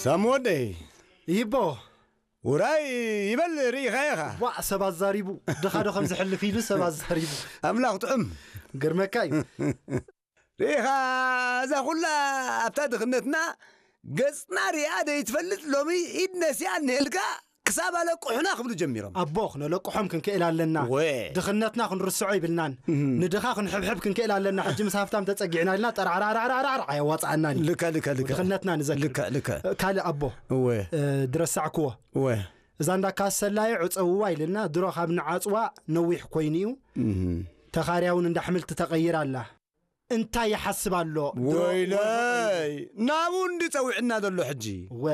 ሳም ወደይ፣ ይቦ ውራይ ይበል ርኢኻ ኢኻ። ዋዕ ሰብ ኣዛሪቡ፣ ድኻ ዶ ከም ዝሕልፍ ኢሉ ሰብ ኣዛሪቡ። ኣምላኽ ጥዑም። ግርመካ እዩ። ርኢኻ፣ እዛ ኩላ ኣብታ ድኽነትና ገጽና ሪኣ ደይትፈልጥ፣ ሎሚ ኢድ ነሲኣ እንሄልካ ክሳብ ኣለቅሑና ክብሉ ጀሚሮም። ኣቦ፣ ክነለቅሖም ክንክእል ኣለና። ወ። ድኽነትና ክንርስዖ ይብልናን። ንድኻ ክንሕብሕብ ክንክእል ኣለና። ሕጂ ምስ ሃፍታም ተጸጊዕና ኢልና ጠራዕራዕራዕራዕ ኣየዋጽኣናን እዩ። ልከ፣ ልከ፣ ልከ። ድኽነትና ንዘክር። ልከ፣ ልከ። ካልእ ኣቦ፣ እወ። እ፣ ድረሳዕክዎ። እወ። እዛ እንዳ ካሰላየ ዕጸውዋ ኢልና፣ ድሮ ካብ ንዓጽዋ ነዊሕ ኮይኑ እዩ። እህ። ተኻርያ እውን እንዳ ኣሕምልቲ ተቐይራ ኣላ። እንታይ ይሓስብ ኣሎ? ድሮ ወይለይ፣ ናብኡ እንዲ ጸዊዕና ዘሎ ሕጂ። ወ፣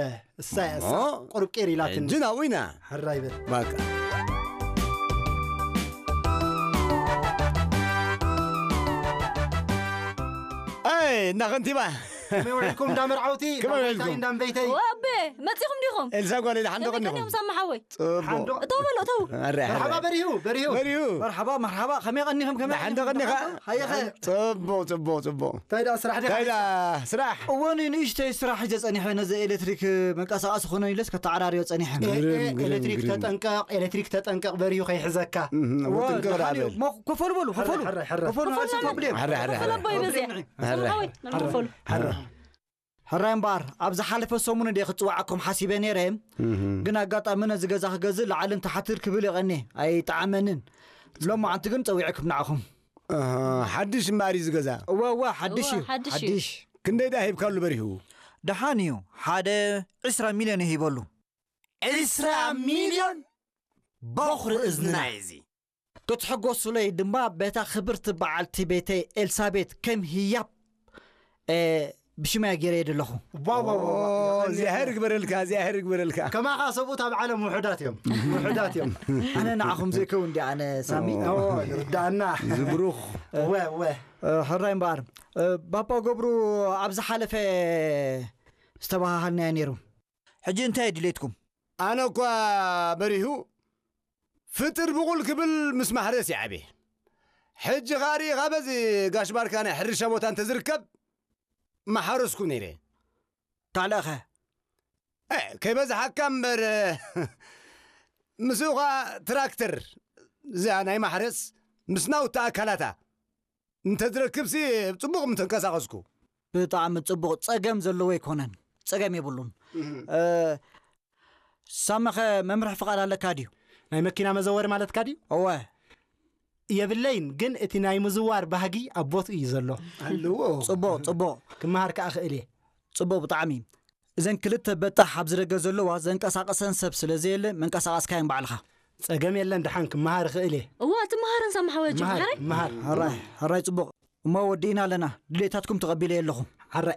እሳ እያ፣ እሳ እሞ፣ ቁሩብ ቄር ኢላትኒ። ሕጂ ናብኡ ኢና። ሕራይ በል። ባቃ። ኣይ፣ እንዳ ከንቲባ። ከመይ ውዒልኩም እንዳ መርዓውቲ? ከመይ እንዳ ውዒልኩም? በይተይ፣ እንዳ በይተይ። ወቤ፣ መጺኹም ዲኹም? ኤልሳ ጓለይ፣ ደሓን ዶ ከመይ ቀኒኹም? ቀኒኹም ሳሚ ሓወይ? ጽቡቕ። ሓንዶ። እተው በሎ፣ እተው። ኣረ፣ ኣረ። እተው በሎ፣ እተው። በሪሁ። በሪሁ። መርሓባ፣ መርሓባ፣ ከመይ ቀኒኹም? ከመይ ደሓን ዶ ቀኒኻ? ሃየኸ። ጽቡቕ፣ ጽቡቕ፣ ጽቡቕ። እንታይ ደኣ ስራሕ ዲኻ እንታይ ደኣ ሓይሳ? ስራሕ? እወ፣ ን-፣ ንእሽተይ ስራሕ ሒዘ ጸኒሐ፣ ነዚ ኤሌክትሪክ መንቀሳቐሲ ክኾነኒ ኢለስ ከተዓራርዮ ጸኒሐ። ኤ፣ ኤ፣ ግርም፣ ግርም፣ ኤሌክትሪክ ግርም። ተጠንቀቕ፣ ኤሌክትሪክ ተጠንቀቕ፣ በሪሁ ከይሕዘካ። እህ፣ እወ፣ ወጥንቅቕ ደሓን እዩ። በል። ሞ-፣ ኮፈሉ በሉ፣ ኮፈሉ። ሕራይ፣ ሕራይ፣ ሕራይ። ኮፈሉ፣ ኮፈሉ፣ ንኣሽቱ ፕሮብሌም። ሕራይ፣ ሕራይ፣ ኮፈሉ ሕራይ። ኣቦይ በዚያ። ሕራይ። ሳሚ ሓወይ፣ ንዕም ኮፈሉ። ሕራይ። ሕራይ እምበኣር፣ ኣብዚ ሓለፈ ሰሙን እንደ ክጽዋዓኩም ሓሲበ ነይረ፣ እህ። ግን ኣጋጣሚ ነዚ ገዛ ክገዝእ ላዕልን ታሕትን ክብል ይቐኒ ኣይጠዓመንን። ሎማዓንቲ ግን ጸዊዐኩም ንዓኹም። ኣሃ፣ ሓድሽ እምበኣር እዩ እዚ ገዛ። እወ፣ እወ፣ ሓድሽ እወ፣ እዩ። ሓድሽ እዩ። ሓድሽ። ክንደይ ደኣ ሂብካሉ በሪሁ? ደሓን እዩ። ሓደ ዕስራ ሚልዮን እየ ሂበሉ። ዕስራ ሚልዮን? በኹሪ እዝንና እዩ እዚ። ክትሕጎሱለይ ድማ በታ ክብርቲ በዓልቲ ቤተይ ኤልሳቤት ከም ህያብ፣ እ፣ ብሽመያ ገይረ እየ ዘለኹ። ዋ፣ ዋ፣ ዋ፣ ዋ። ኦ፣ እግዚኣብሔር ይግበረልካ፣ እግዚኣብሔር ይግበረልካ። ከማኻ ሰብኡት ኣብ ዓለም ውሑዳት እዮም። ውሑዳት እዮም። ኣነ ንዓኹም ዘይከውን ድየ ኣነ ሳሚ? ኦ፣ ይርዳእና። ዝብሩኽ። ወ፣ ወ። እ፣ ሕራይ እምበኣር፣ እ፣ ባባ ገብሩ ኣብ ዝሓለፈ ዝተባሃሃልናዮ ነይሩ። ሕጂ እንታይ ድሌትኩም? ኣነ እኳ በሪሁ ፍጥር ብቑል ክብል ምስ ማሕረስ ይዓብየ። ሕጂ ኸኣ ርኢኻ በዚ ጋሽ ባርካ ናይ ሕርሻ ቦታ እንተዝርከብ ምሓረስኩ ነይረ። ካልእኸ? እ፣ ከይበዝሓካ እምበር፣ ምስኡ ኸኣ ትራክተር እዚኣ ናይ ማሕረስ ምስ ናውቲ ኣካላታ እንተዝረክብሲ ጽቡቕ ምተንቀሳቐስኩ። ብጣዕሚ ጽቡቕ። ጸገም ዘለዎ ኣይኮነን። ጸገም የብሉን። እህ። እ፣ ሳመኸ መምርሒ ፍቓድ ኣለካ ድዩ? ናይ መኪና መዘወሪ ማለትካ ድዩ? እወ። የብለይን፣ ግን እቲ ናይ ምዝዋር ባህጊ ኣብ ቦትኡ እዩ ዘሎ። ኣለዎ። ጽቡቕ፣ ጽቡቕ። ክመሃር ከኣ ክእል እየ። ጽቡቕ ብጣዕሚ። እዘን ክልተ በጣሕ ኣብዚ ደገ ዘለዋ ዘንቀሳቕሰን ሰብ ስለ ዘየለ መንቀሳቐስካየን ባዕልኻ። ጸገም የለን፣ ደሓን ክመሃር እኽእል እየ። እዋ፣ ትመሃርን ሳሚ ሓወይ፣ ምሃር፣ ምሃረይ? ምሃር። ሕራይ፣ ሕራይ ጽቡቕ። እሞ ወዲእና ኣለና። ድሌታትኩም ተቐቢለ ኣለኹ። ሕራይ፣